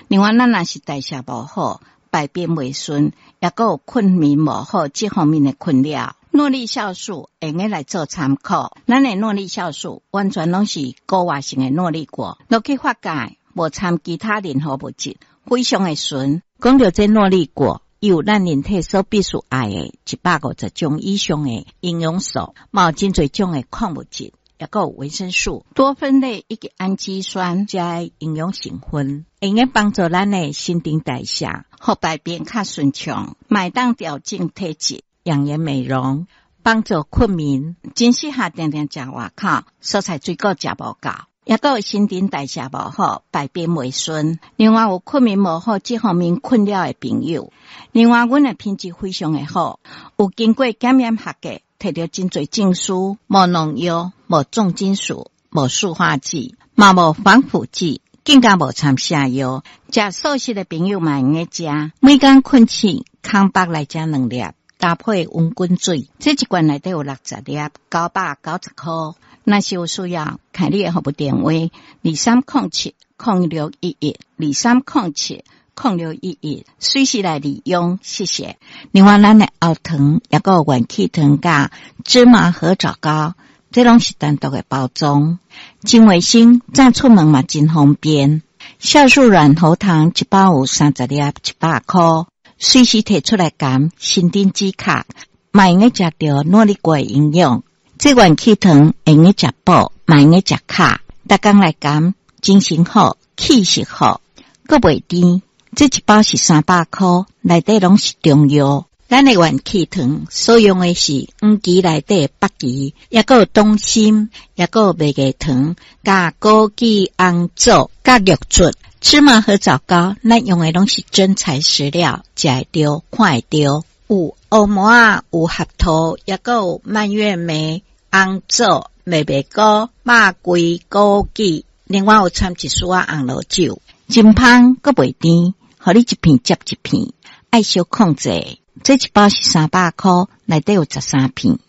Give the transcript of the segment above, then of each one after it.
另外，咱若是代謝無好，排便袂順，抑閣有睏眠無好，這方面的困擾，諾麗酵素會用來做參考。咱的諾麗酵素完全攏是高活性的諾麗果，落去發酵，無摻其他任何物質，非常的純。講著這諾麗果，有咱人體所必須愛的150種以上的營養素，嘛有真濟種的礦物質，抑閣有維生素、多酚類以及氨基酸，遮營養成分，會用幫助咱的新陳代謝，予排便較順暢，嘛會當調整體質、養顏美容，幫助睏眠，真適合定定食外口，蔬菜水果食無夠，抑閣有新陳代謝無好、排便袂順，另外有睏眠無好這方面困擾的朋友，另外阮的品質非常的好，有經過檢驗合格，摕著真濟證書，無農藥、無重金屬、無塑化劑，嘛無防腐劑，更加無摻瀉藥。食素食的朋友嘛會用食。每工睏醒，空腹來食兩粒，搭配溫滾水。這一罐內底有60粒，990箍。若是有需要，開你的服務電話：23070611，23070611，隨時來利用，謝謝。另外，咱的喉糖，抑閣有元氣糖佮芝麻核棗糕，這攏是單獨的包裝，真衛生，早出門嘛真方便。酵素軟喉糖一包有30粒，100箍，隨時提出來含，新丁止咳，嘛會用食著諾麗果的營養。這元氣糖會用食補，嘛會用食卡，逐工來含，精神好，氣色好，閣袂甜。這一包是300箍，內底攏是中藥。咱的元氣糖所用的是黃芪內底的北芪，抑閣有黨參，抑閣有麥芽糖，佮枸杞、紅棗、佮玉竹、芝麻核棗糕，咱用的攏是真材實料，食會著，看會著。有烏麻仔，有合桃，抑閣有蔓越莓、紅棗、麥麥菇、肉桂、枸杞，另外有摻一絲仔紅露酒，真芳閣袂甜，予你一片接一片，愛小控制。這一包是300箍，內底有13片。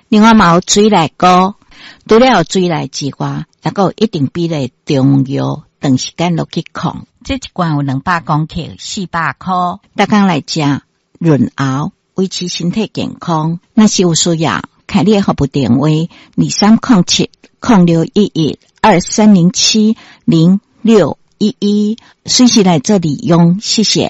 另外嘛有水內膏，除了有水內之外，抑閣有一定比例中藥，長時間落去控。這一罐有200公克，400箍。逐工來食潤喉，維持身體健康。若是有需要，開你的服務電話：23070611，23070611，隨時來做利用。謝謝。